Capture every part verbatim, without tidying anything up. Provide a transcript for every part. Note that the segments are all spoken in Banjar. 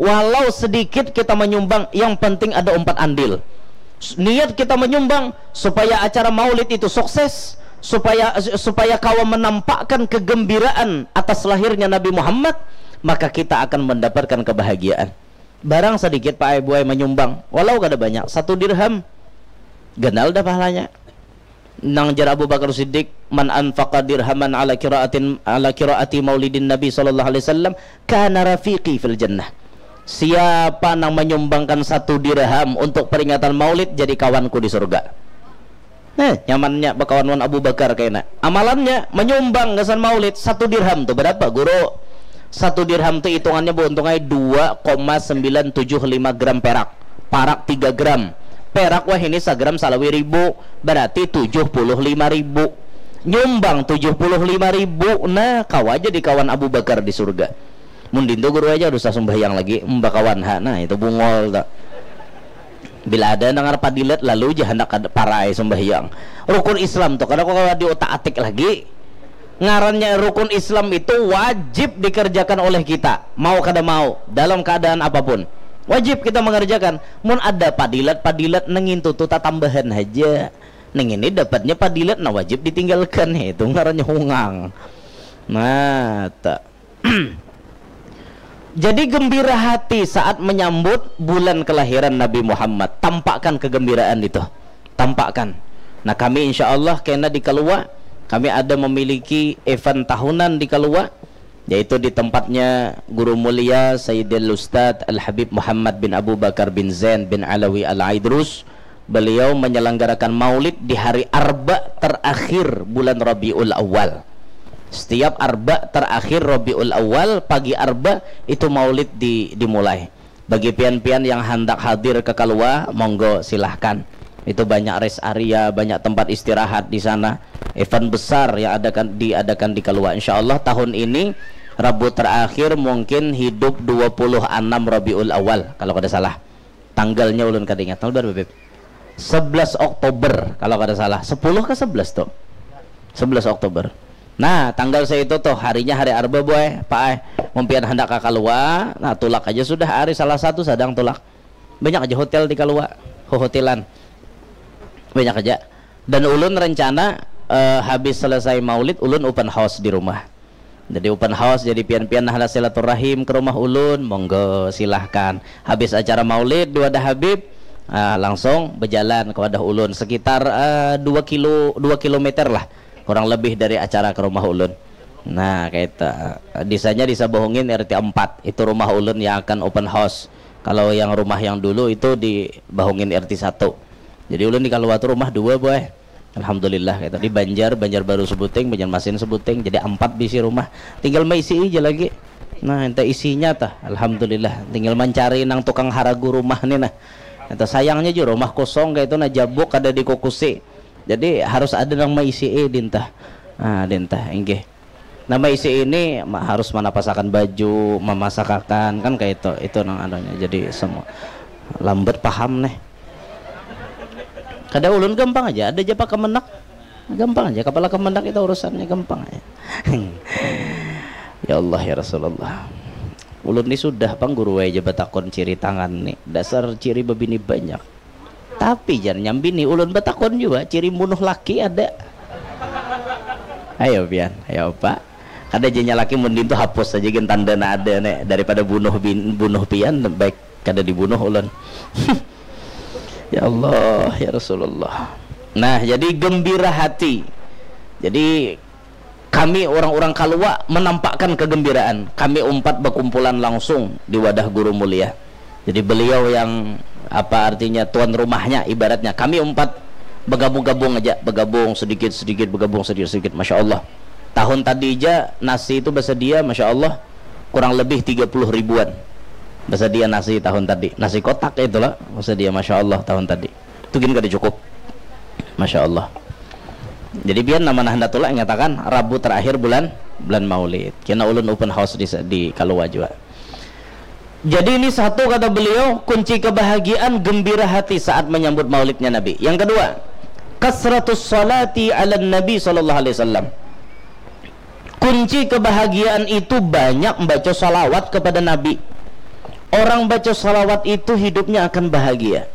Walau sedikit kita menyumbang, yang penting ada umpat andil. Niat kita menyumbang supaya acara maulid itu sukses, supaya supaya kawa menampakkan kegembiraan atas lahirnya Nabi Muhammad, maka kita akan mendapatkan kebahagiaan. Barang sedikit Pak Ai Buai menyumbang, walau kada banyak, satu dirham, ganal dah pahalanya. Nang jar Abu Bakar Siddiq, "Man anfaqa dirhaman ala qiraatin ala qiraati maulidin Nabi sallallahu alaihi wasallam kana rafiqi fil jannah." Siapa nang menyumbangkan satu dirham untuk peringatan maulid, jadi kawanku di surga. Nah, nyamannya bakawan wan Abu Bakar kena. Amalannya menyumbang gasan maulid satu dirham tu berapa, Guru? Satu dirham tu hitungannya beuntung ai dua koma sembilan tujuh lima gram perak. Parak tiga gram. Perak wah ini sagram salawi ribu, berarti tujuh puluh lima ribu. Nyumbang tujuh puluh lima ribu, nah, kawa jadi kawan Abu Bakar di surga. Mun dintu Guru aja usah sumbahyang lagi, mbakawan ha, nah, itu bungol tu. Bila ada nangar padilat, lalu ja handak kada parai sumbahyang. Rukun Islam tu kada kawa diutak-atik lagi. Ngarannya rukun Islam itu wajib dikerjakan oleh kita, mau kada mau, dalam keadaan apapun. Wajib kita mengerjakan. Mun ada padilat-padilat nang ngintu tu tatambahan haja. Nang ini dapatnya padilat, nah, wajib ditinggalkan. Itu ngarannya hungang. Nah, ta. Jadi gembira hati saat menyambut bulan kelahiran Nabi Muhammad. Tampakkan kegembiraan itu. Tampakkan. Nah, kami insya Allah kena di Kalua, kami ada memiliki event tahunan di Kalua, yaitu di tempatnya Guru Mulia Sayyidil Ustadz Al Habib Muhammad bin Abu Bakar bin Zain bin Alawi Al Aidrus. Beliau menyelenggarakan maulid di hari Arba terakhir bulan Rabiul Awal. Setiap Arba terakhir Rabiul Awal, pagi Arba itu maulid di, dimulai. Bagi pian-pian yang handak hadir ke Kalua, monggo silahkan. Itu banyak rest area, banyak tempat istirahat di sana. Event besar yang adakan diadakan di Kalua. Insya Allah tahun ini Rabu terakhir mungkin hidup dua puluh enam Rabiul Awal kalau kada salah. Tanggalnya ulun kada ingat. Tanggal berapa, Beb? Sebelas Oktober kalau kada salah. Sepuluh ke sebelas tuh? Sebelas Oktober. Nah, tanggal seitu tuh, harinya hari Arba, Boy, Pak ai. Mun pian handak ka Kalua, nah, tulak aja sudah hari Salasa tu sadang tulak. Banyak aja hotel di Kalua, hohotelan. Banyak aja. Dan ulun rencana, eh, habis selesai maulid, ulun open house di rumah. Jadi open house, jadi pian-pian nah handak silaturahim ke rumah ulun, monggo silahkan. Habis acara maulid di wadah Habib, ah, langsung bejalan ke wadah ulun sekitar, eh, dua kilo, dua kilometer lah, kurang lebih dari acara ke rumah ulun. Nah, kayak itu. Disanya Desa Bahungin R T empat. Itu rumah ulun yang akan open house. Kalau yang rumah yang dulu itu di Bahungin R T satu. Jadi ulun di Kalua tu rumah dua, Boy. Alhamdulillah, kayak itu. Di Banjar, Banjarbaru sebuting, Banjarmasin sebuting. Jadi empat bisi rumah. Tinggal maisi aja lagi. Nah, ente isinya tah. Alhamdulillah. Tinggal mencari nang tukang haragu rumah nih nah. Ente sayangnya juga rumah kosong kayak itu nah, jabuk kada dikukusi. Jadi harus ada nang maisi, eh, dintah. Ah, dintah, inggih. Nah, maisi ini ma-, harus manapasakan baju, mamasakakan, kan kayak itu. Itu nang anunya. Jadi semua lambat paham nih. Kada ulun gampang aja, ada aja pak kemenak. Gampang aja, kepala kemenak itu urusannya gampang aja. Ya Allah, ya Rasulullah. Ulun ni sudah pang guru aja batakon ciri tangan nih. Dasar ciri bebini banyak. Tapi jar nyambini ulun batakon jua, ciri bunuh laki ada? Ayo pian, ayo pak. Kada janya laki mundin tu hapus saja gin tanda na ada ne, daripada bunuh bin, bunuh pian, baik kada dibunuh ulun. Ya Allah, ya Rasulullah. Nah, jadi gembira hati. Jadi kami orang-orang Kalua menampakkan kegembiraan. Kami umpat berkumpulan langsung di wadah guru mulia. Jadi beliau yang, apa artinya, tuan rumahnya ibaratnya. Kami umpat bergabung-gabung aja, bergabung sedikit-sedikit, bergabung sedikit-sedikit. Masya Allah. Tahun tadi aja nasi itu bersedia, Masya Allah, kurang lebih tiga puluh ribuan bersedia nasi tahun tadi. Nasi kotak itulah bersedia, Masya Allah, tahun tadi. Itu gin kada cukup. Masya Allah. Jadi pian nama nah handak tulak nyatakan Rabu terakhir bulan, bulan Maulid. Kena ulun open house di, di Kalua jua. Jadi ini satu kata beliau, kunci kebahagiaan, gembira hati saat menyambut maulidnya Nabi. Yang kedua, kasratus salati ala Nabi sallallahu alaihi wasallam. Kunci kebahagiaan itu banyak membaca salawat kepada Nabi. Orang baca salawat itu hidupnya akan bahagia.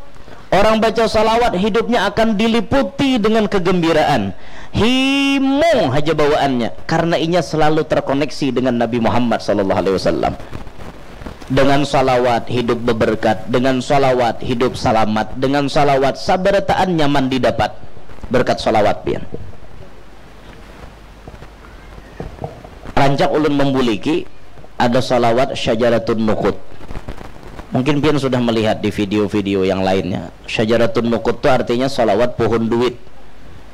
Orang baca salawat hidupnya akan diliputi dengan kegembiraan. Himung haja bawaannya karena inya selalu terkoneksi dengan Nabi Muhammad sallallahu alaihi wasallam. Dengan salawat hidup beberkat, dengan salawat hidup salamat, dengan salawat sabarataan nyaman didapat berkat salawat pian. Rancak ulun membuliki ada salawat syajaratun nukut. Mungkin pian sudah melihat di video-video yang lainnya. Syajaratun nukut tu artinya salawat pohon duit.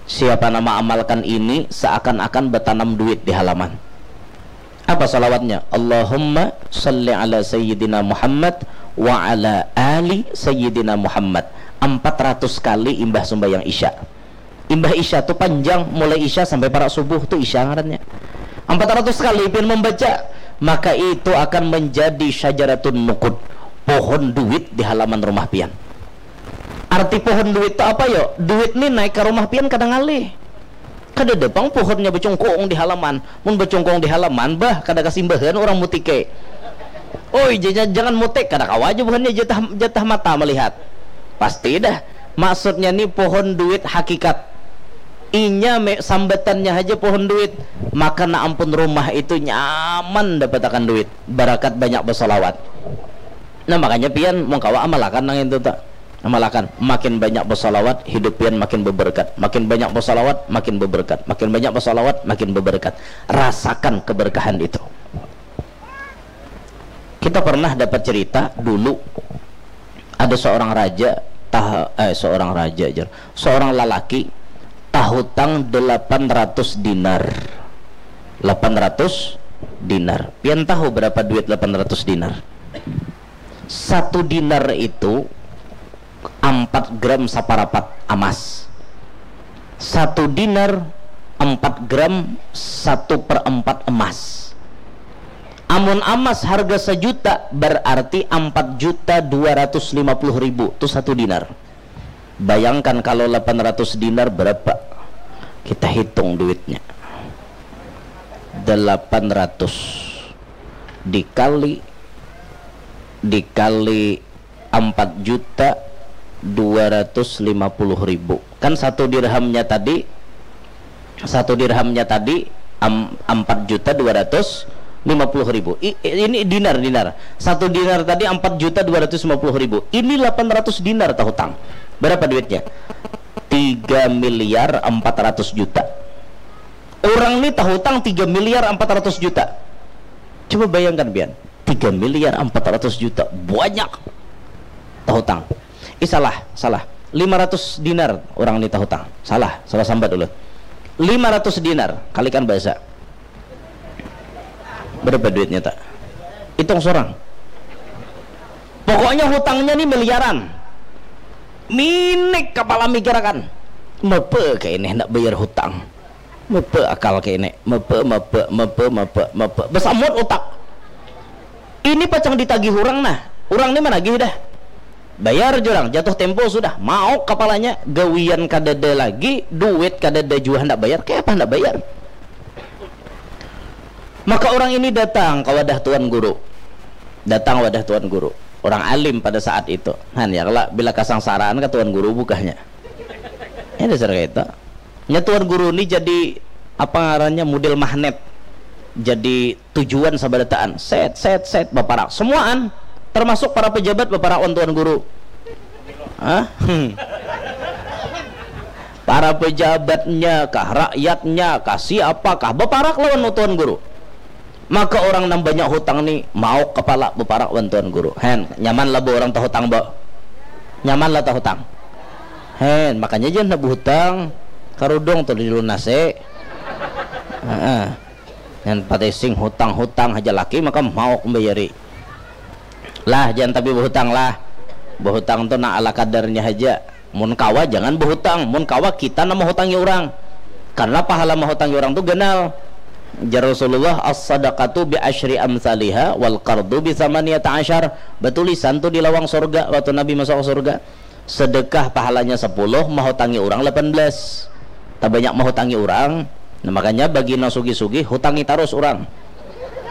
Siapa nama amalkan ini seakan-akan bertanam duit di halaman. Apa salawatnya? Allahumma salli ala sayyidina Muhammad wa ala ali sayyidina Muhammad. Empat ratus kali imbah sumbayang isya. Imbah isya tu panjang, mulai isya sampai parak subuh tu isya ngarannya. Empat ratus kali pian membaca, maka itu akan menjadi syajaratun nukud, pohon duit di halaman rumah pian. Arti pohon duit tu apa yo? Duit ni naik ke rumah pian kada ngalih. Kada ada pang pohonnya bacungkung di halaman. Mun bacungkung di halaman, bah, kada kasimbahan orang mutike. Oi, jangan, jangan mutik, kada kawa aja buhannya jatah, jatah mata melihat. Pasti dah. Maksudnya ni pohon duit hakikat. Inya me, sambatannya haja pohon duit. Maka na ampun rumah itu nyaman dapatakan duit. Barakat banyak bersolawat. Nah, makanya pian mun kawa amalakan nang itu tak. Amalakan, makin banyak bersolawat, hidup pian makin beberkat. Makin banyak bersolawat, makin beberkat. Makin banyak bersolawat, makin beberkat. Rasakan keberkahan itu. Kita pernah dapat cerita dulu, ada seorang raja, tah, eh, seorang raja aja, seorang lalaki tahutang delapan ratus dinar. Delapan ratus dinar. Pian tahu berapa duit delapan ratus dinar? Satu dinar itu empat gram saparapat amas. Satu dinar empat gram satu per empat emas. Amun amas harga sajuta, berarti empat juta dua ratus lima puluh ribu tu satu dinar. Bayangkan kalau delapan ratus dinar berapa? Kita hitung duitnya. Delapan ratus dikali, dikali empat juta dua ratus lima puluh ribu. Kan satu dirhamnya tadi, satu dirhamnya tadi am, empat juta dua ratus lima puluh ribu. I, ini dinar, dinar. Satu dinar tadi empat juta dua ratus lima puluh ribu. Ini delapan ratus dinar tahutang. Berapa duitnya? Tiga miliar empat ratus juta. Orang ni tahutang tiga miliar empat ratus juta. Coba bayangkan pian, tiga miliar empat ratus juta, banyak tahutang. Ih, salah, salah. Lima ratus dinar orang ni tahutang. Salah, salah sambat ulun. Lima ratus dinar, kalikan bahasa. Berapa duitnya tak? Hitung sorang. Pokoknya hutangnya ni miliaran. Minik kepala mikirakan. Mepe kaini handak bayar hutang. Mepe akal kaini. Mepe, mepe, mepe, mepe, mepe. Besamut utak. Ini pacang ditagih urang nah. Urang ni managih dah. Bayar jurang, jatuh tempo sudah. Mauk kapalanya, gawian kadada lagi, duit kadada jua handak bayar. Kayapa handak bayar? Maka orang ini datang ke wadah tuan guru. Datang wadah tuan guru. Orang alim pada saat itu. Han, ya kala, bila kasangsaraan ka tuan guru bukahnya. Ya dasar kayak itu. Nya tuan guru ni jadi, apa ngarannya, model magnet. Jadi tujuan sabarataan. Set, set, set, baparak. Semuaan, termasuk para pejabat baparak wan tuan guru. Hah? Hmm. Para pejabatnya kah, rakyatnya kah, siapa kah, baparak lawan tuan guru. Maka orang nang banyak hutang ni mauk kepala baparak wan tuan guru. Hen, nyaman lah bo orang tahutang bo. Nyaman lah tahutang. Hen, makanya jangan nak berhutang. Karudung tu dilunasi. Heeh. Yang patising hutang-hutang haja laki maka mauk membayari. Lah, jangan tapi berhutang lah. Berhutang tu nak ala kadarnya haja. Mun kawa jangan berhutang. Mun kawa kita nama hutangi orang. Karena pahala mahutangi orang tu ganal. Jar Rasulullah, as-sadaqatu bi asyri amsaliha wal qardu bi samaniyata asyar. Batulisan tu di lawang surga waktu Nabi masuk ke surga. Sedekah pahalanya sepuluh, mahutangi orang lapan belas. Tabanyak mahutangi orang, nah, makanya bagi nang sugih-sugih, hutangi tarus orang.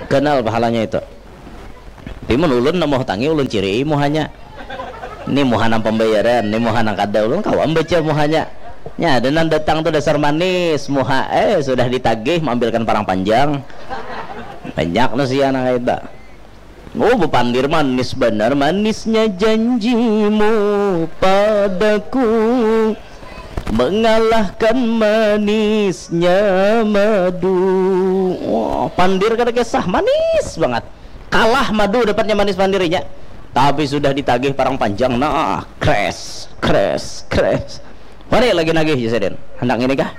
Ganal pahalanya itu. Tapi mun ulun nang mauhutangi, ulun cirii muhanya. Ni muha nang pambayaran, ni muha nang kada, ulun kawa membaca muhanya. Nya ada nang datang tu dasar manis muha, eh, sudah ditagih maambilkan parang panjang. Banyak nang sia nang kaya itu. Oh, bapandir manis banar, manisnya janjimu padaku mengalahkan manisnya madu. Wah, pandir kada kisah, manis banget. Kalah madu dapatnya manis pandir inya. Tapi sudah ditagih parang panjang, nah, kres, kres, kres. Mari lagi nagih, jar sidin. Handak ngini kah?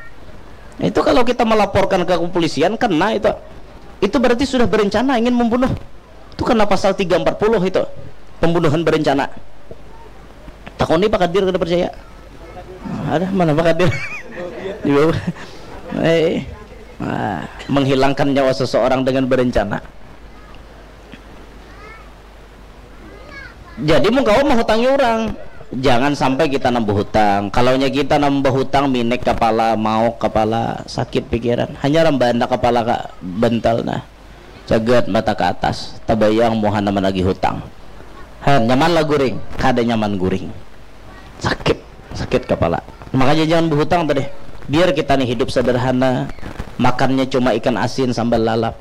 Itu kalau kita melaporkan ke kepolisian, kena itu. Itu berarti sudah berencana ingin membunuh. Itu kena pasal tiga empat puluh itu. Pembunuhan berencana. Takoni Pak Kadir, kada percaya. Ada mana Pak Kadir? Di bawah. Eh, ah, menghilangkan nyawa seseorang dengan berencana. Jadi mun kawa mahutangi orang, jangan sampai kita nambah hutang. Kalaunya kita nambah hutang, minik kepala, mauk kepala, sakit pikiran. Hanya rambanda kepala ka bantal nah. Cagat mata ke atas, tabayang muha nang managih hutang. Han, nyaman lah guring? Kada nyaman guring. Sakit, sakit kepala. Makanya jangan berhutang tadi. Biar kita nih hidup sederhana, makannya cuma ikan asin sambal lalap.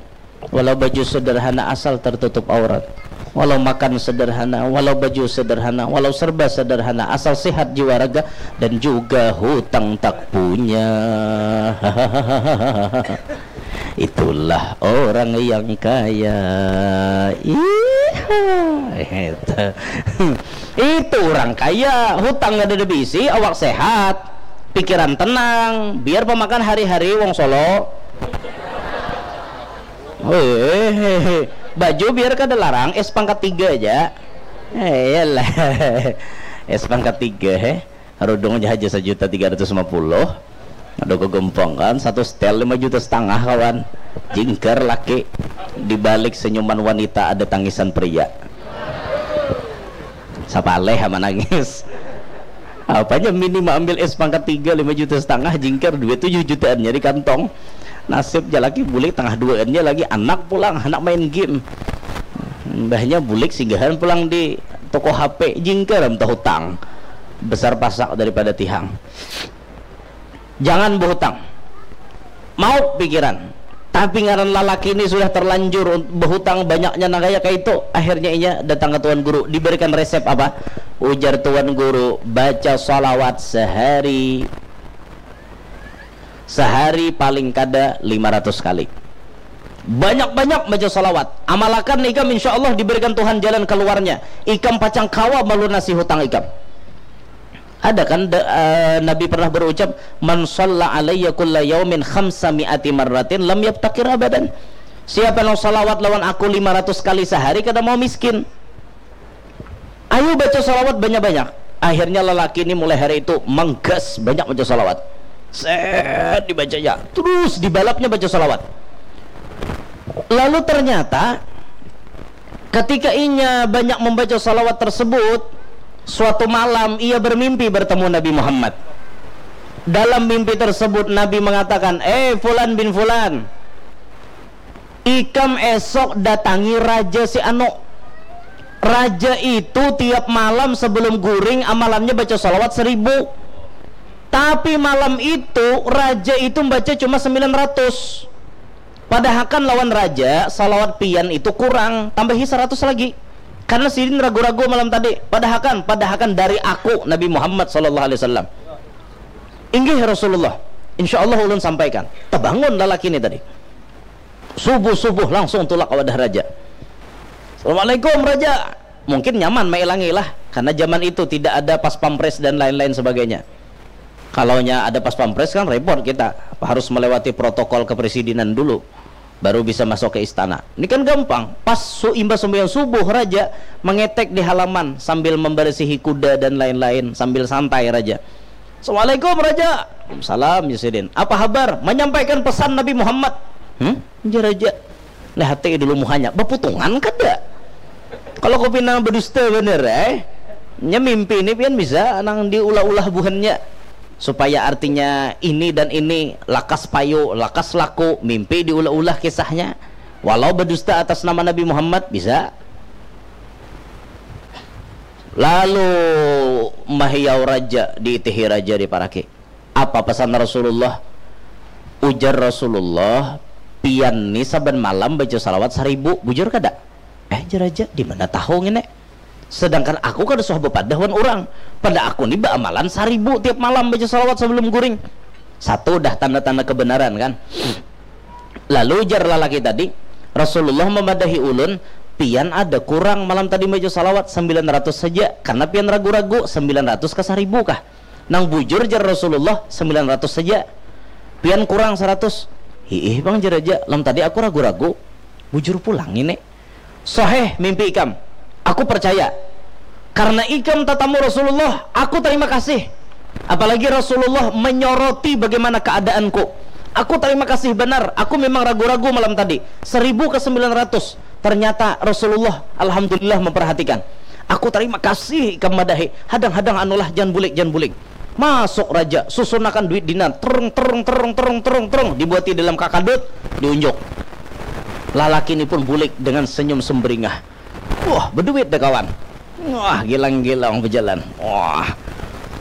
Walau baju sederhana asal tertutup aurat. Walau makan sederhana, walau baju sederhana, walau serba sederhana, asal sehat jiwa raga dan juga hutang tak punya. Itulah orang yang kaya. Iya. Itu. Itu orang kaya, hutang kada ada bisi, awak sehat, pikiran tenang, biar pamakan hari-hari wong Solo. Weh, baju biar kada larang, es pangkat tiga aja. Eh, iyalah. Es pangkat tiga, heh. Rudung aja haja sajuta tiga ratus lima puluh. Aduh, kegompong kan, satu setel lima juta setengah, kawan. Jingkar laki. Di balik senyuman wanita ada tangisan pria. Sapaleh ama nangis. Apanya mini maambil es pangkat tiga lima juta setengah, jingkar duit tujuh jutaannya di kantong. Nasib jalaki bulik tangah duaannya lagi anak pulang, anak main game. Mbahnya bulik singgahan pulang di toko H P, jingkar am tahutang. Besar pasak daripada tihang. Jangan berhutang. Mau pikiran. Tapi ngaran lalaki ini sudah terlanjur un-, berhutang banyaknya nang kaya itu. Akhirnya inya datang ke tuan guru, diberikan resep apa? Ujar tuan guru, baca salawat sehari, sehari paling kada lima ratus kali. Banyak-banyak baca salawat. Amalakan ikam, insya Allah diberikan Tuhan jalan keluarnya. Ikam pacang kawa melunasi hutang ikam. Ada kan da- eh, Nabi pernah berucap, "Man shalla alayya kulla yaumin khamsa mi'ati marratin lam yabtakir abadan." Siapa nang salawat lawan aku lima ratus kali sehari kada mau miskin. Ayo baca salawat banyak-banyak. Akhirnya lelaki ini mulai hari itu manggas banyak baca salawat. Set dibacanya, terus dibalapnya baca salawat. Lalu ternyata ketika inya banyak membaca salawat tersebut, suatu malam ia bermimpi bertemu Nabi Muhammad. Dalam mimpi tersebut Nabi mengatakan, "Eh, Fulan bin Fulan, ikam esok datangi raja si anu. Raja itu tiap malam sebelum guring amalannya baca salawat seribu. Tapi malam itu raja itu membaca cuma sembilan ratus. Padahakan lawan raja, salawat pian itu kurang, tambahi seratus lagi. Karena sidin ragu-ragu malam tadi. Padahakan, padahakan dari aku, Nabi Muhammad sallallahu alaihi wasallam." "Inggih Rasulullah, insya Allah ulun sampaikan." Tebangun lalaki ini tadi. Subuh-subuh langsung tulak ke wadah raja. "Assalamualaikum, Raja." Mungkin nyaman mailangi lah, karena zaman itu tidak ada pas pampres dan lain-lain sebagainya. Kalaunya ada pas pampres kan repot kita, harus melewati protokol kepresidenan dulu, baru bisa masuk ke istana. Ini kan gampang, pas su imbah sembahyang subuh raja mengetek di halaman sambil membersihi kuda dan lain-lain, sambil santai raja. "Assalamualaikum, Raja." "Waalaikumsalam, ya sidin. Apa habar?" "Menyampaikan pesan Nabi Muhammad." "Hmm?" Ujar raja. Lihati dulu muhanya, baputungan kada? Kalau kau pina berdusta bener, eh. Nya mimpi ini pian bisa nang diulah-ulah buhannya. Supaya artinya ini dan ini, lakas payu, lakas laku, mimpi diulah-ulah kisahnya. Walau berdusta atas nama Nabi Muhammad, bisa. Lalu mahiyau raja, diitihi raja, diparaki. Apa pesan Rasulullah? Ujar Rasulullah, pian ni saban malam baca salawat saribu, bujur kada? Eh, jar raja, di mana tahu ngini? Sedangkan aku kada suah bepadah wan urang. Pada aku ni baamalan saribu tiap malam baca salawat sebelum guring. Satu dah tanda-tanda kebenaran kan. Lalu jar lalaki tadi, Rasulullah memadahi ulun, pian ada kurang malam tadi baca salawat sembilan ratus saja, karena pian ragu-ragu sembilan ratus kah saribu kah? Nang bujur jar Rasulullah sembilan ratus saja. Pian kurang seratus. Hiih bang jar raja, lam tadi aku ragu-ragu. Bujur pulang ini. Soheh mimpi ikam. Aku percaya. Karena ikam tatamu Rasulullah, aku terima kasih. Apalagi Rasulullah menyoroti bagaimana keadaanku. Aku terima kasih benar. Aku memang ragu-ragu malam tadi. Seribu ke sembilan ratus. Ternyata Rasulullah, alhamdulillah, memperhatikan. Aku terima kasih ikam madahi. Hadang-hadang anulah, jangan bulik, jangan bulik. Masuk raja, susunakan duit dinar, terung, terung, terung, terung, terung, terung, dibuati dalam kakadut, diunjuk. Lalaki ini pun bulik dengan senyum sumberingah. Wah, beduit deh kawan. Wah, gilang-gilang berjalan. Wah.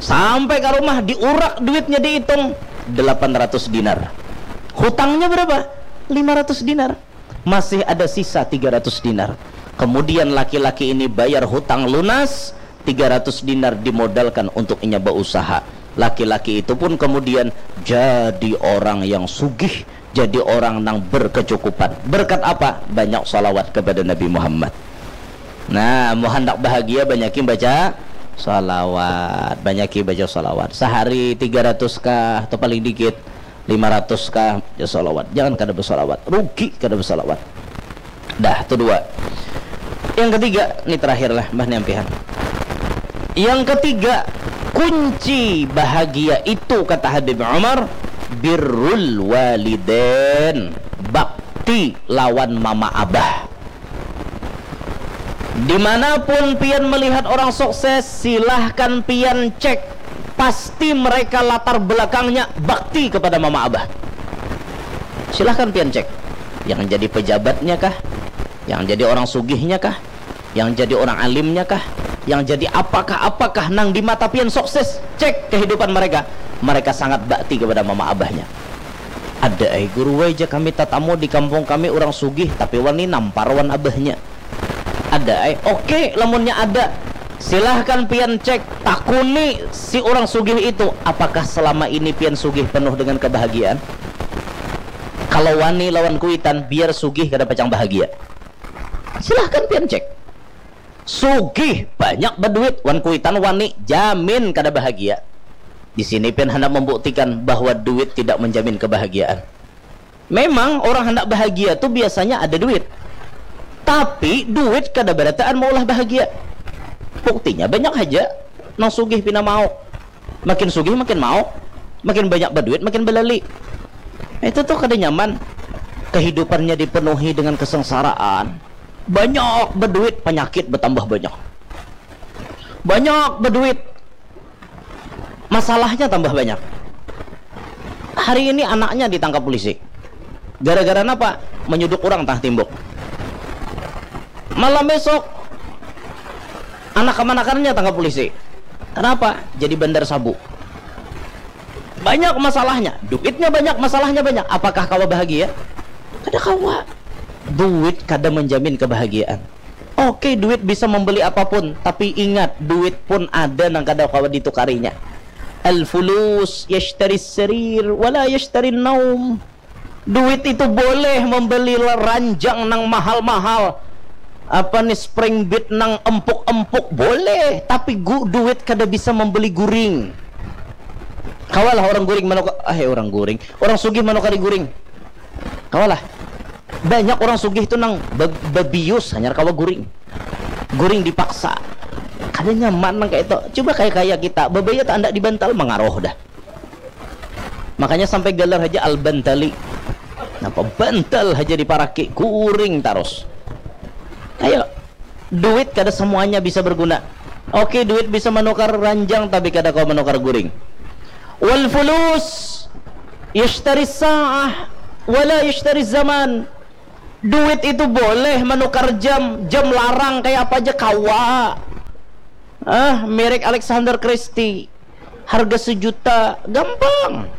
Sampai ke rumah, diurak duitnya, dihitung, delapan ratus dinar. Hutangnya berapa? Lima ratus dinar. Masih ada sisa tiga ratus dinar. Kemudian laki-laki ini bayar hutang lunas, tiga ratus dinar dimodalkan untuk inya berusaha. Laki-laki itu pun kemudian jadi orang yang sugih, jadi orang nang berkecukupan. Berkat apa? Banyak salawat kepada Nabi Muhammad. Nah, mau hendak bahagia, banyaki baca salawat, banyaki baca salawat. Sehari tiga ratus kah atau paling dikit lima ratus kah, ya salawat. Jangan kada bersalawat, rugi kada bersalawat. Dah, tu dua. Yang ketiga, ni terakhir lah, mbah ni ampihan. Yang ketiga, kunci bahagia itu, kata Habib Umar, birrul walidain, bakti lawan mama abah. Dimanapun pian melihat orang sukses, silahkan pian cek, pasti mereka latar belakangnya bakti kepada mama abah. Silahkan pian cek, yang jadi pejabatnya kah, yang jadi orang sugihnya kah, yang jadi orang alimnya kah, yang jadi apakah-apakah nang di mata pian sukses, cek kehidupan mereka. Mereka sangat bakti kepada mama abahnya. Ada ai guru, wai, ja kami tatamu di kampung kami urang sugih, tapi wani nampar wan abahnya. Ada ai. Oke, lamunnya ada, silahkan pian cek, takuni si urang sugih itu, apakah selama ini pian sugih penuh dengan kebahagiaan? Kalau wani lawan kuitan, biar sugih kada pacang bahagia. Silahkan pian cek. Sugih, banyak baduit, wan kuitan wani, jamin kada bahagia. Di sini pian handak membuktikan bahwa duit tidak menjamin kebahagiaan. Memang orang handak bahagia tu biasanya ada duit. Tapi duit kada barataan maulah bahagia. Buktinya banyak haja nang sugih pina mau. Makin sugih makin mau. Makin banyak baduit makin balali. Itu tuh kada nyaman. Kehidupannya dipenuhi dengan kesengsaraan. Banyak baduit, penyakit bertambah banyak. Banyak baduit, masalahnya tambah banyak. Hari ini anaknya ditangkap polisi. Gara-gara napa? Menyuduk orang tah timbuk. Malam besok, anak kemanakannya tangkap polisi. Kenapa? Jadi bandar sabu. Banyak masalahnya, duitnya banyak, masalahnya banyak. Apakah kawa bahagia? Kada kawa. Duit kada menjamin kebahagiaan. Oke, duit bisa membeli apapun, tapi ingat, duit pun ada nang kada kawa ditukarinya. Al-fulus yashtari sarir wala yashtari naum. Duit itu boleh membeli ranjang nang mahal-mahal, apa nih, spring bed nang empuk-empuk, boleh, tapi gu, duit kada bisa membeli guring. Kawalah orang guring manukar, eh, orang guring, orang sugih manukari guring. Kawalah. Banyak orang sugih tu nang be-, bebius hanyar kawa guring. Guring dipaksa. Kada nyaman nang kayak itu. Coba kayak, kayak kita, bebaya tak andak dibantal, mengaruh dah. Makanya sampai galar haja al-bantali. Napa bantal haja diparaki, guring tarus. Ayo, duit kada semuanya bisa berguna. Oke, duit bisa menukar ranjang, tapi kada kau menukar guring. Wal fulus yashtari sa'ah wala yashtari zaman. Duit itu boleh menukar jam, jam larang kayak apa aja kawa. Ah, merek Alexander Christie, harga sejuta, gampang.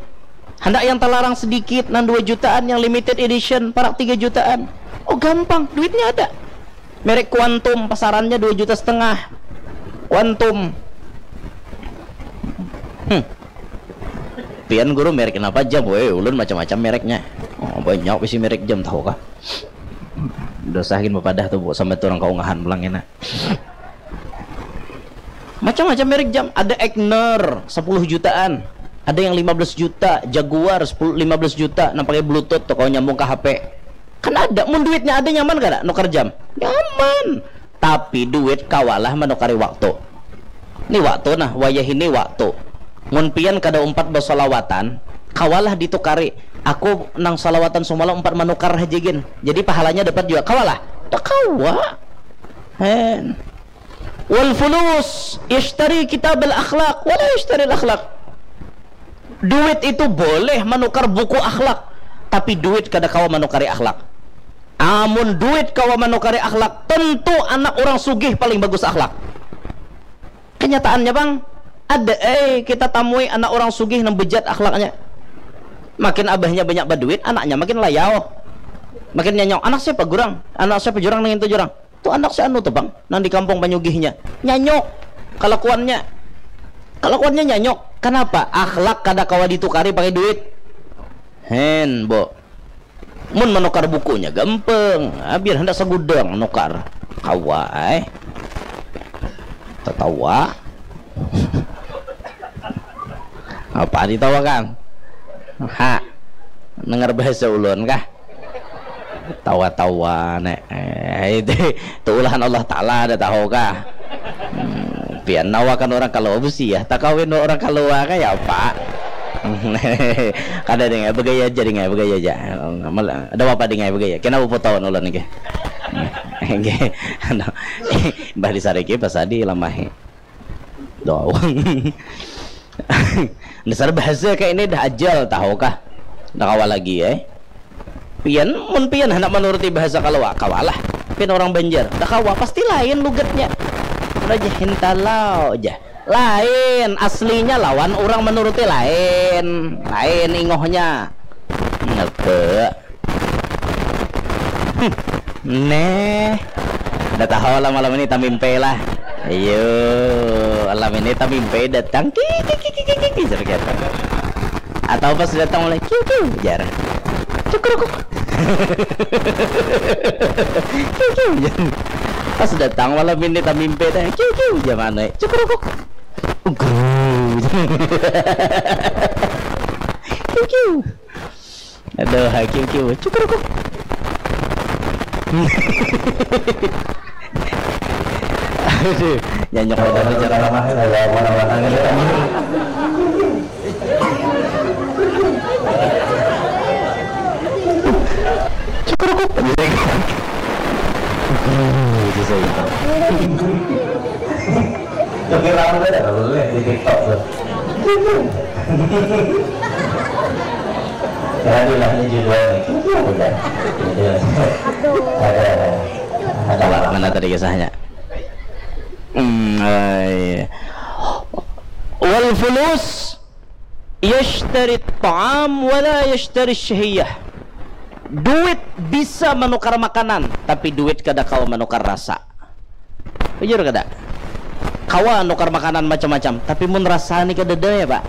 Handak yang terlarang sedikit, nang dua jutaan, yang limited edition, parak tiga jutaan. Oh, gampang, duitnya ada. Merek Quantum, pasarannya dua juta setengah. Quantum. Hmm. Pian guru merek kenapa jam? Weh, ulun macam-macam mereknya. Oh, banyak bisi merek jam, tahu kah? Dosa gin bapadah tuh, Bu, sampai tu urang kaungahan pulang kena. Macam-macam merek jam. Ada Aigner, sepuluh jutaan. Ada yang lima belas juta, Jaguar, sepuluh, lima belas juta, nang pakai bluetooth tuh, kalau nyambung ke H P. Kan ada, mun duitnya ada, nyaman kada nukar jam? Nyaman. Tapi duit kawalah manukari waktu. Ni waktu, nah, wayah ini waktu. Mun pian kada umpat basolawatan, kawalah ditukari. Aku nang solawatan sumalam umpat manukar haja gin. Jadi pahalanya dapat juga. Kawalah? Tak kawa. Hen. Wal fulus yashtari kitab al akhlak, wala yashtari al akhlak. Duit itu boleh manukar buku akhlak, tapi duit kada kawa manukari akhlak. Amun duit kawa manukari akhlak, tentu anak orang sugih paling bagus akhlak. Kenyataannya, Bang, ada, eh, kita tamui anak orang sugih nang bejat akhlaknya. Makin abahnya banyak baduit, anaknya makin layau. Makin nyanyau, "Anak siapa, Gurang? Anak siapa, Jurang, nang itu, Jurang?" Tu anak si anu tu, Bang, nang di kampung panyugihnya. Nyanyuk kalakuannya. Kalakuannya nyanyuk. Kenapa? Akhlak kada kawa ditukari pakai duit. Hen, Bo. Mun manukar bukunya gampang. Ah, biar handak sagudang nukar. Kawa ai. Tatawa. Apa ditawakan? Ha. Dengar bahasa ulun kah? Tawa-tawa, nek. Eh, itu, itu ulahan Allah Ta'ala, ada tahu kah? Hmm, pian nawakan orang kalau besi ya, tak kawin orang kalau kah ya, Pak? Kada ding, begaya aja ding, begaya aja. Mal-, ada apa ding, begaya? Kena puputawan ulun niki. Nggih. Anu, Mbah Disariki pas adi lamahi. Doang. Dasar bahasa kayak ini dah ajal, tahu kah? Dah kawa lagi, eh. Pian, mun pian handak manuruti bahasa kalawa, kawalah. Pian orang Banjar, dah kawa, pasti lain lugatnya. Raja Hintalau aja. Lain, aslinya lawan orang manuruti lain. Lain ingohnya. Ngebe. Neh. Dah tahu lah malam ini tamimpe lah. Ayo, malam ini tamimpe datang. Ki, ki, ki, ki, ki, ki, ki, jar kata. Atau pas datang mulai, kiu, kiu, jar. Cukrukuk. Kiu, kiu, jar. Pas datang malam ini tamimpe dah. Kiu, kiu, jar mana? Cukrukuk. Ugru. Kiu, kiu. Aduh, hakim kiu. Cukrukuk. Aduh, nyanyok. Kalau orang cara ramah, kalau mana-mana gitu. Cukrukuk. Gitu saya. Tapi rame ada kalau lihat di TikTok tuh. Ya, itulah ini judulnya. Udah. Jadi, ada, ada. Mana tadi kisahnya? Hmm, eh, wal fulus yashtari ta'am wala yashtari syahiyah. Duit bisa menukar makanan, tapi duit kada kawa menukar rasa. Bujur kada? Kawa nukar makanan macam-macam, tapi mun rasa ni kadada ya, Pak.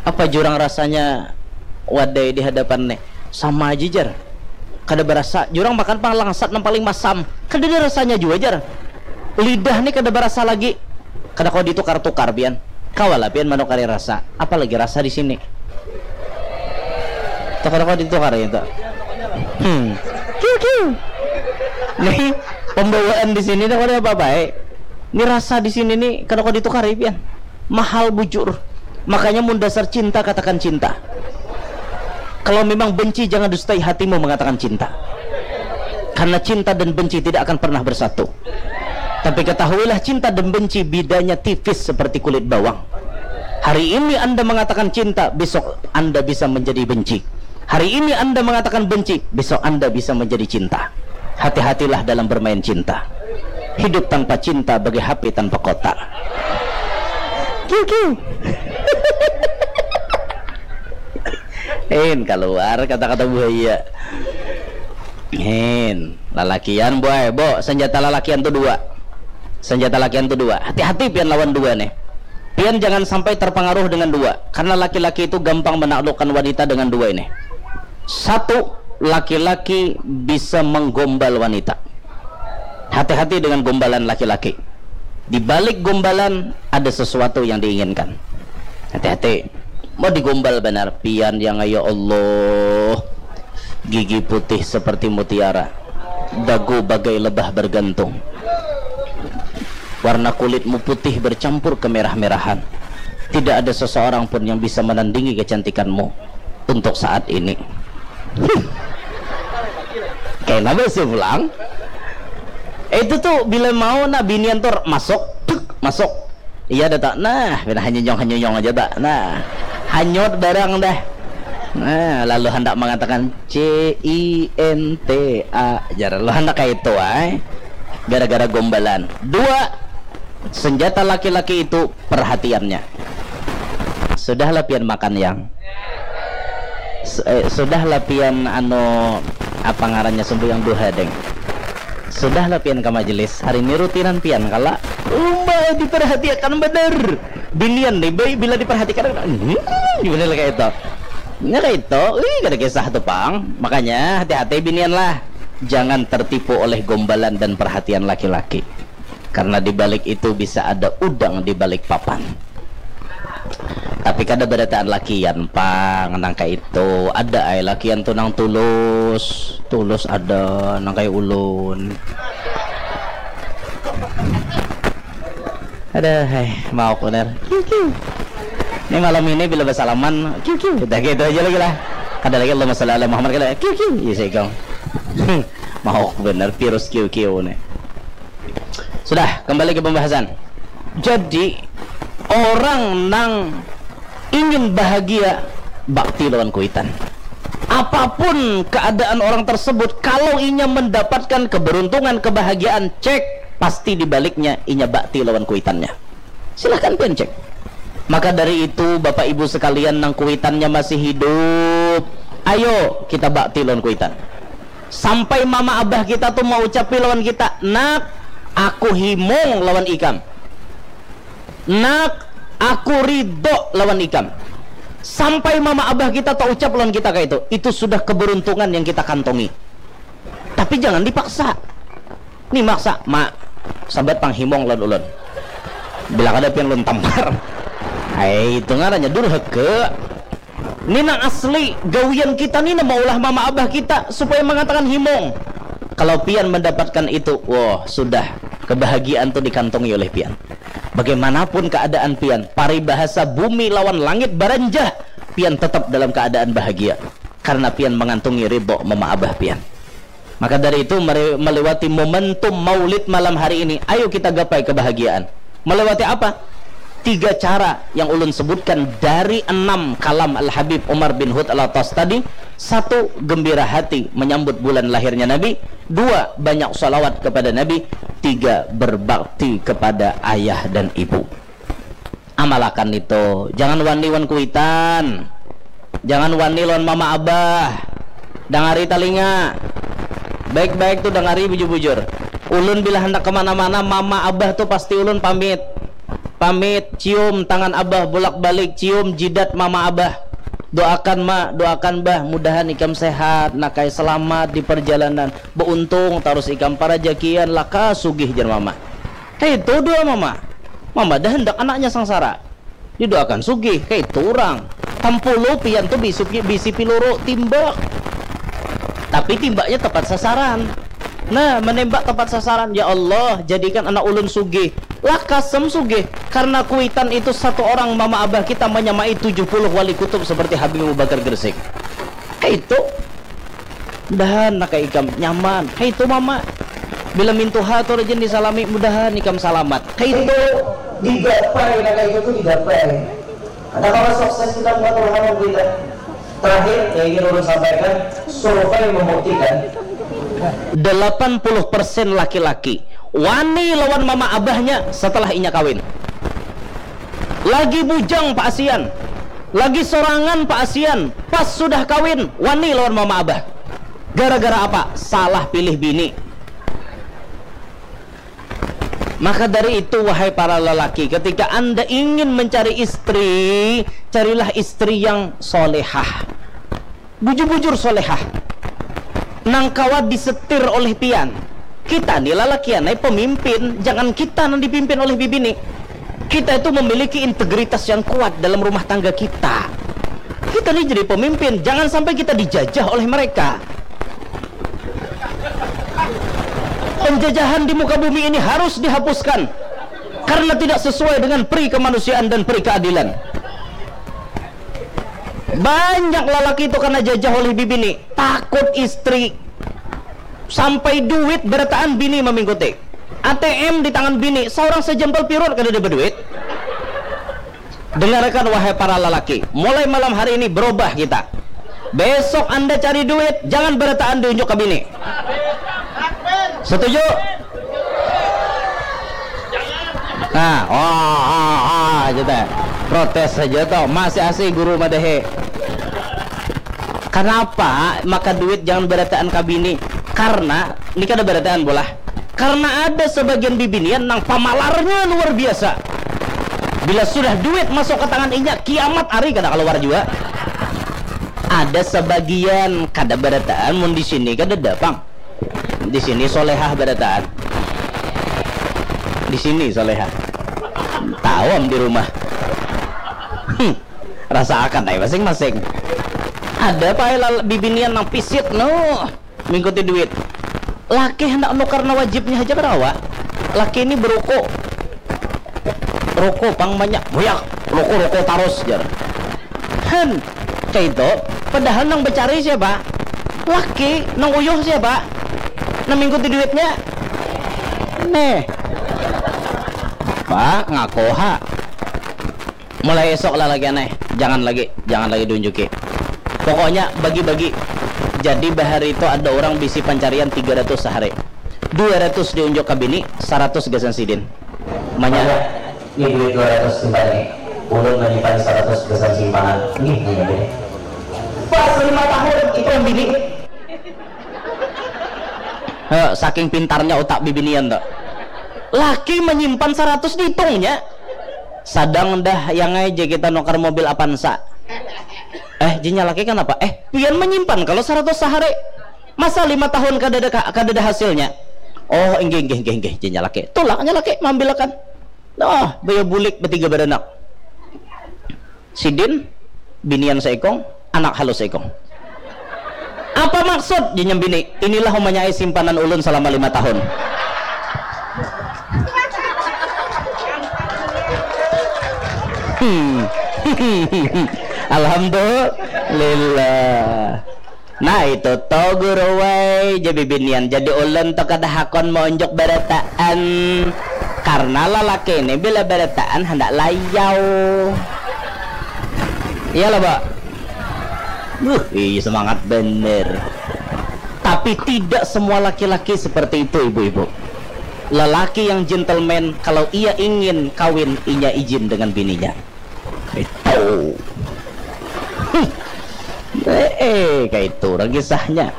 Apa jurang rasanya wadai di hadapan ni? Sama aja, jar. Kada berasa. Jurang makan pang langsat nang paling masam. Kadada rasanya jua, jar. Lidah ni kada berasa lagi. Kada kawa ditukar-tukar, pian. Kawalah pian manukari rasa. Apalagi rasa di sini. Tuh, kada kawa ditukar itu. Hmm. Kiu, kiu. Nih, pembawaan di sini dah kada apa-apa, eh. Ini rasa di sini nih kada kawa ditukari, pian. Mahal bujur. Makanya mun dasar cinta, katakan cinta. Kalau memang benci, jangan dustai hatimu mengatakan cinta. Karena cinta dan benci tidak akan pernah bersatu. Tapi ketahuilah, cinta dan benci bedanya tipis seperti kulit bawang. Hari ini Anda mengatakan cinta, besok Anda bisa menjadi benci. Hari ini Anda mengatakan benci, besok Anda bisa menjadi cinta. Hati-hatilah dalam bermain cinta. Hidup tanpa cinta bagi H P tanpa kota. Kiu kiu. Hin, kaluar kata-kata buaya. Hin, lalakian, boy, bo, senjata lalakian tu dua. Senjata lalakian tu dua. Hati-hati pian lawan dua nih. Pian jangan sampai terpengaruh dengan dua, karena laki-laki itu gampang menaklukkan wanita dengan dua ini. Satu, laki-laki bisa menggombal wanita. Hati-hati dengan gombalan laki-laki. Di balik gombalan ada sesuatu yang diinginkan. Hati-hati. Mau digombal benar, pian yang, ya Allah. Gigi putih seperti mutiara, dagu bagai lebah bergantung. Warna kulitmu putih bercampur kemerah-merahan. Tidak ada seseorang pun yang bisa menandingi kecantikanmu untuk saat ini. Kayak apa sih pulang? Itu tuh bila mau, nah, binian tuh masuk, tuk, masuk. Iya dah tak. Nah, pina hanyunyong-hanyunyong aja tak. Nah, hanyut barang dah. Nah, lalu hendak mengatakan C I N T A, jar. Lalu hendak kayak itu, ay. Gara-gara gombalan. Dua, senjata laki-laki itu perhatiannya. Sudahlah pian makan, yang. S- eh, sudahlah pian, anu, apa ngarannya, sembahyang duha, deng. Sudahlah pian ke majelis. Hari ini rutinan pian kala. Umba diperhatikan bener. Binian nih, baik bila diperhatikan, hmm, gimana lah kayak itu. Nya kayak itu, wih, kada kisah tuh, pang. Makanya hati-hati binian lah. Jangan tertipu oleh gombalan dan perhatian laki-laki. Karena di balik itu bisa ada udang di balik papan. Tapi kada barataan lakian, pang, nang kayak itu. Ada ai lakian tuh nang tulus. Tulus ada, nang kayak ulun. Ada, hai, mauk benar. Kiu, kiu. Ini malam ini bila bersalaman, kiu, kiu. Udah gitu aja lagi lah. Ada lagi Allahumma sholli ala Muhammad, kada, kiu, kiu. Iya, saya kong. Mauk benar virus kiu, kiu nih. Sudah, kembali ke pembahasan. Jadi, orang nang ingin bahagia, bakti lawan kuitan. Apapun keadaan orang tersebut, kalau inya mendapatkan keberuntungan, kebahagiaan, cek, pasti dibaliknya inya bakti lawan kuitannya. Silahkan pian cek. Maka dari itu, Bapak Ibu sekalian, nang kuitannya masih hidup, ayo kita bakti lawan kuitan. Sampai mama abah kita tuh mau ucapi lawan kita, "Nak, aku himung lawan ikam. Nak, aku ridho lawan ikam." Sampai mama abah kita tak ucap lawan kita kayak itu, itu sudah keberuntungan yang kita kantongi. Tapi jangan dipaksa. Nih maksa, "Ma, sambat pang himung lawan ulun." Bila kada pian ulun tampar. Hai, itu ngarannya durhaka. Ni nang asli gawian kita ni, nang maulah mama abah kita supaya mengatakan himung. Kalau pian mendapatkan itu, wah, sudah, kebahagiaan tu dikantongi oleh pian. Bagaimanapun keadaan pian, paribahasa bumi lawan langit baranjah, pian tetap dalam keadaan bahagia karena pian mengantungi ridho mama abah pian. Maka dari itu, mari meliwati momentum Maulid malam hari ini, ayo kita gapai kebahagiaan. Meliwati apa? Tiga cara yang ulun sebutkan dari enam kalam Al-Habib Umar bin Hud Al-Attas tadi. Satu, gembira hati menyambut bulan lahirnya Nabi. Dua, banyak salawat kepada Nabi. Tiga, berbakti kepada ayah dan ibu. Amalakan itu. Jangan wani wan kuitan. Jangan wani lawan mama abah. Dangari talinga. Baik-baik tu dangari bujur-bujur. Ulun bila handak kemana-mana, mama abah tu pasti ulun pamit. Pamit, cium tangan abah, bolak-balik, cium jidat mama abah. Doakan ma, doakan bah, mudahan ikam sehat, nakai selamat di perjalanan. Beuntung tarus ikam, parajakian, lakas sugih, jar mama. Kaitu doa mama. Mama dah handak anaknya sangsara. Didoakan sugih, kaitu urang. Tampulu pian tu bisi, bisi piluru, timbak. Tapi timbaknya tepat sasaran. Nah, menembak tepat sasaran. Ya Allah, jadikan anak ulun sugih. Lakas am sugih. Karena kuitan itu satu orang mama abah kita menyamai tujuh puluh wali kutub seperti Habib Abu Bakar Gresik. Kaitu. Mudahan nak ikam nyaman. Kaitu mama. Bila mintuha tu rajin disalami, mudahan ikam salamat. Kaitu. Itu digapai, nak itu tu digapai. Ada kawa sukses kita buat Tuhan kita. Terakhir yang ingin ulun sampaikan, survei membuktikan Delapan puluh persen laki-laki wani lawan mama abahnya setelah inya kawin. Lagi bujang Pak Asian, lagi sorangan Pak Asian, pas sudah kawin wani lawan mama abah. Gara-gara apa? Salah pilih bini. Maka dari itu, wahai para lelaki, ketika Anda ingin mencari istri, carilah istri yang solehah. Bujur-bujur solehah. Nang kawa disetir oleh pian. Kita ni lalakian ai pemimpin, jangan kita nang dipimpin oleh bibini. Kita itu memiliki integritas yang kuat dalam rumah tangga kita. Kita ni jadi pemimpin, jangan sampai kita dijajah oleh mereka. Penjajahan di muka bumi ini harus dihapuskan karena tidak sesuai dengan peri kemanusiaan dan peri keadilan. Banyak lalaki itu kena jajah oleh bibini, takut istri. Sampai duit berataan bini memingkuti. A T M di tangan bini, seorang sejempol pirut kada ada berduit. Dengarkan, wahai para lelaki, mulai malam hari ini berubah kita. Besok Anda cari duit, jangan berataan diunjuk ke bini. Setuju? Nah, oh, oh, oh, aja teh. Protes saja toh, masih asih guru madahe. Kenapa maka duit jangan berataan ke bini? Karena, ini kada berataan bolah. Karena ada sebagian bibinian nang pamalarnya luar biasa. Bila sudah duit masuk ke tangan inya, kiamat hari kada keluar juga. Ada sebagian kada berataan, mun di sini kada ada pang. Di sini solehah berataan. Di sini solehah. Tahu am di rumah. Hmm. Rasa akan ai masing-masing. Ada pae lal- bibinian nang pisit no mingkuti duit. Laki hendak nukar na wajibnya haja karawa. Laki ini beruku. Ruku pang banyak, buyak, ruku-ruku tarus jar. Han, kayak itu. Padahal nang becari siapa? Laki, nang uyuh siapa? Nang mingkuti duitnya. Neh. Pak, ngaku ha. Mulai esok lah lagi aneh. Jangan lagi, jangan lagi diunjuki. Pokoknya bagi-bagi. Jadi bahari itu ada orang bisi pancarian tiga ratus sehari. Dua ratus diunjuk ke bini, seratus gasan sidin. Manya. Ini duit dua ratus simpan nih. Ulun menyimpan seratus gasan simpanan. Nih, nih, nih. Pas lima tahun itu bini. Heh, saking pintarnya otak bibinian tuh. Laki menyimpan seratus dihitungnya. Sadang dah yang aja kita nukar mobil Avanza. Eh, jinya laki kenapa? Eh, pian menyimpan kalau seratus sehari. Masa lima tahun kada ada ka- kada ada hasilnya? Oh, inggih inggih inggih inggih, jinya laki. Tulaknya laki mambilakan. Nah, baya bulik betiga beranak. Sidin, binian seikong, anak halus seikong. Apa maksud? Jinya bini, inilah umanya ai simpanan ulun selama lima tahun. Hmm. Alhamdulillah. Nah itu to guru wai, ja bibinian jadi ulun to kada hakon maunjuk barataan. Karena lalaki ini bila barataan handak layau. Iya lah, Pak. Buh, iya semangat bener. Tapi tidak semua laki-laki seperti itu, ibu-ibu. Lelaki yang gentleman, kalau ia ingin kawin, inya izin dengan bininya. Itu. Hmm. Eh, eh, kayak itu orang kisahnya.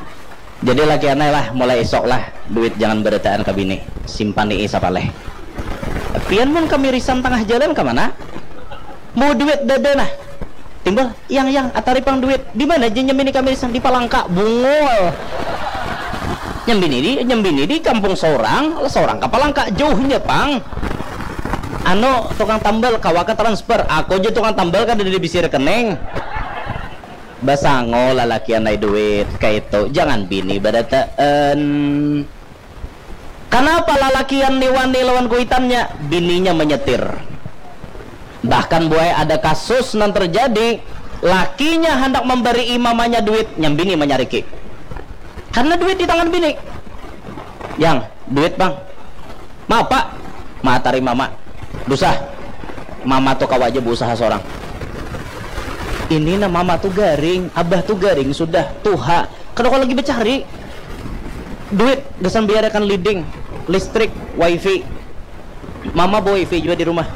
Jadi laki anai lah, mulai isok lah, duit jangan berataan ke bini, simpani i sapaleh. Pian mun kamirisan tangah jalan ke mana? Mau duit dada nah. Timbul, yang yang atari pang duit. Di mana je nyambini kamirisan? Di Palangka. Bungul. Nyambini di nyambini di kampung seorang, seorang ke Palangka jauhnya pang. Anu tukang tambal kawa ke transfer, aku aja tukang tambal kada ada bisi rekening. Basango lalaki anai duit kaitu, jangan bini barataan. Kanapa lalakian ni wani lawan kuitannya? Bininya menyetir. Bahkan buai ada kasus nang terjadi, lakinya handak memberi mamanya duit, nyambini menyariki. Karena duit di tangan bini. Yang, duit bang. Maaf pak. Matari mama. Dusa. Mama tu kawa aja berusaha seorang. Ini nah mama tu garing, abah tu garing sudah, tuha. Kada kawa lagi becari. Duit gasan bayarakan leading, listrik, wifi. Mama wifi jua di rumah.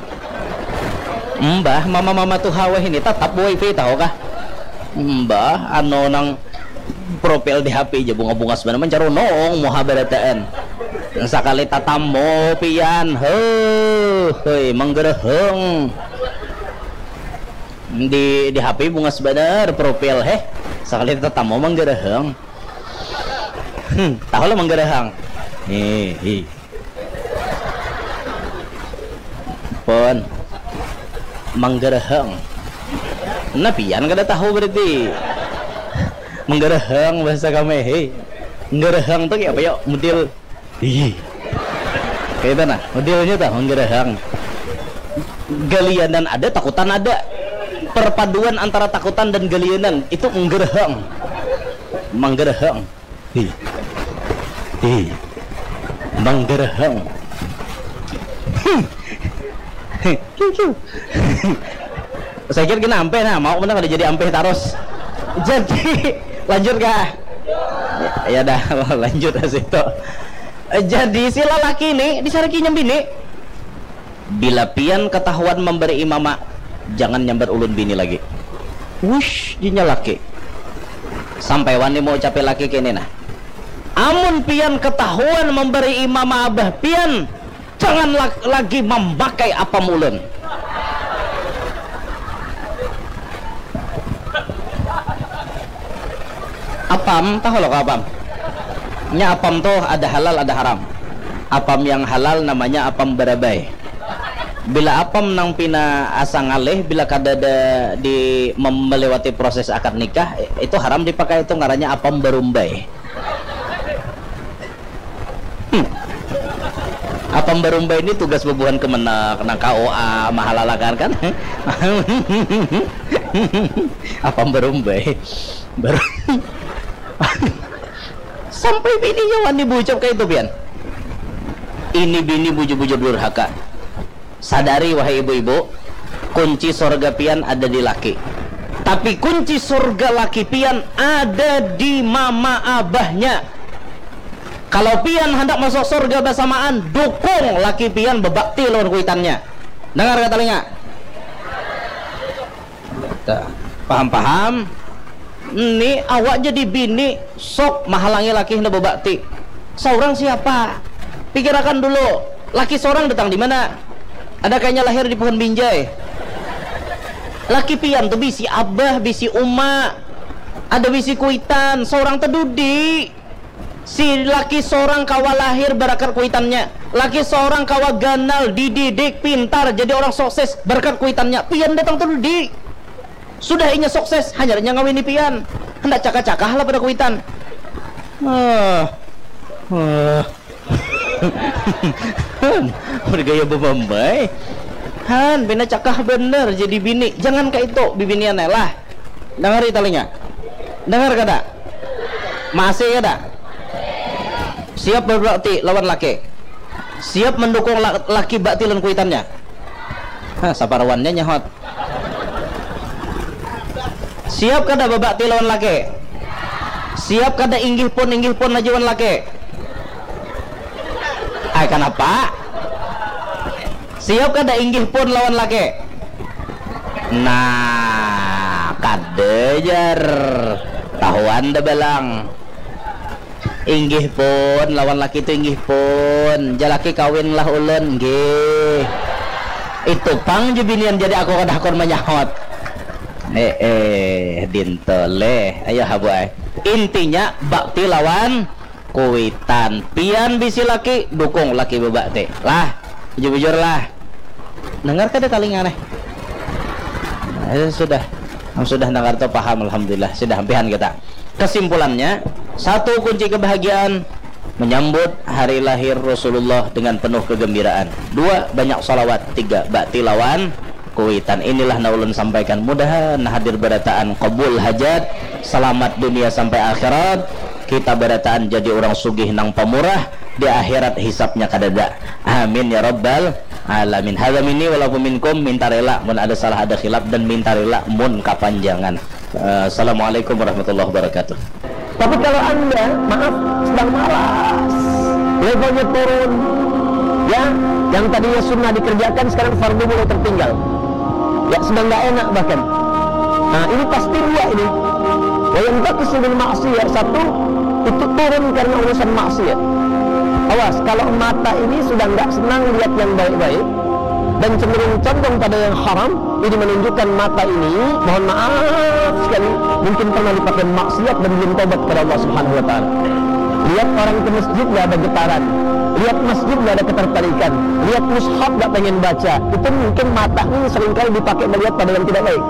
Mbah, mama-mama tuha wahini tatap wifi tahu kah? Mbah, anu nang profil di H P ja bunga-bunga sebenarnya mancarunung muha barataan. Sakali tatamu pian, heuh, heuy, manggereheng. Di di H P bungas banar profil, heh. Sakali tatamu manggereheng. Hmm, tahu lah manggereheng. Hihi. Pun manggereheng. Nah, pian kada tahu berarti. Manggereheng bahasa kami, hei. Manggereheng tuh kayak apa ya? Model, hihi. Kayak itu nah, modelnya tuh manggereheng. Galianan ada, takutan ada. Perpaduan antara takutan dan galianan itu manggereheng. Manggereheng. Hi. Hi. Manggereheng. Hi. Hi. Kiu, kiu. Saya kira kena ampeh nah, mau mana kada jadi ampeh tarus. Jadi, lanjut kah? Ya, ya dah, lanjut ke situ. Jadi, si lalaki ni disariki nyambini. Bila pian ketahuan memberi mama, jangan nyambat ulun bini lagi. Wush, dinya laki. Sampai wani mau ucapi laki kini nah. Amun pian ketahuan memberi mama abah pian, jangan la- lagi memakai apam ulun. Apam, tahu lo apam? Nya apam tuh ada halal, ada haram. Apam yang halal namanya apam barabai. Bila apam nang pina asa ngalih, bila kada ada di mem- melewati proses akad nikah, itu haram dipakai, itu ngarannya apam barumbai. Hmm. Apam barumbai ini tugas bubuhan kemenag, nang K U A, mahalalakan kan? Apam barumbai. Baru sampai bininya wani bucap kayak itu pian. Ini bini bujur-bujur durhaka. Sadari, wahai ibu-ibu, kunci sorga pian ada di laki. Tapi kunci sorga laki pian ada di mama abahnya. Kalau pian hendak masuk sorga bersamaan, dukung laki pian bebakti lawan kuitannya. Dengar kata telinga. Dah. Paham-paham? Ini awak jadi bini, sok mahalangi laki hendak bebakti. Seorang siapa? Pikirakan dulu, laki seorang datang di mana? Ada kayaknya lahir di pohon binjai. Laki pian tuh bisi abah, bisi uma, ada bisi kuitan, seorang tedudi. Si laki seorang kawa lahir barakat kuitannya. Laki seorang kawa ganal, dididik, pintar, jadi orang sukses barakat kuitannya. Pian datang tedudi. Sudah inya sukses, hanyar inya ngawini pian. Hendak cakah-cakah lah pada kuitan. Ah. Ah. Bergaya bebambai. Han, pina cakah bener jadi bini. Jangan kayak itu, bibinian lah. Dengar telinga. Dengar kada? Masih kada? Siap berbakti lawan laki. Siap mendukung la- laki bakti lawan kuitannya. Hah, saparuannya nyahot. Siap kada babakti lawan laki? Siap kada inggih pun, inggih pun aja wan laki? Ai, kanapa? Siap kada inggih pun lawan laki? Nah, kada jar. Tahuan dah balang. Inggih pun, lawan laki tu inggih pun. Jalaki kawin lah ulun, nggih. Itu pang je binian jadi aku kada hakun manyahot. Eh, eh, dintoleh. Ayo habu ai. Intinya bakti lawan kuitan. Pian bisi laki, dukung laki bebakti. Lah, bujur-bujur lah. Dengar kada talinga neh? Eh, sudah. Sudah dengar tu paham, alhamdulillah. Sudah ampihan kita. Kesimpulannya, satu kunci kebahagiaan menyambut hari lahir Rasulullah dengan penuh kegembiraan. Dua, banyak salawat. Tiga, bakti lawan kuitan. Inilah na ulun sampaikan. Mudahan hadir barataan kabul hajat, selamat dunia sampai akhirat. Kita barataan jadi orang sugih nang pamurah, di akhirat hisapnya kadada. Amin ya rabbal alamin. Hadza minni walakum minkum, minta rela mun ada salah, ada khilaf, dan minta rela mun kapanjangan. Eh, Assalamualaikum warahmatullahi wabarakatuh. Tapi kalau anda, maaf, sedang malas, levelnya turun, ya, yang tadinya sunnah dikerjakan sekarang fardu mulai tertinggal, ya, sedang nggak enak bahkan. Nah, ini pasti dua ini. Wa yantaqisu bil maksiyah, satu, itu turun karena urusan maksiat. Awas, kalau mata ini sudah nggak senang lihat yang baik-baik dan cenderung condong pada yang haram, ini menunjukkan mata ini, mohon maaf sekali, mungkin pernah dipakai maksiat dan belum taubat kepada Allah Subhanahu wa Ta'ala. Lihat orang ke masjid, nggak ada getaran. Lihat masjid, nggak ada ketertarikan. Lihat mushaf, nggak pengen baca. Itu mungkin mata ini seringkali dipakai melihat pada yang tidak baik.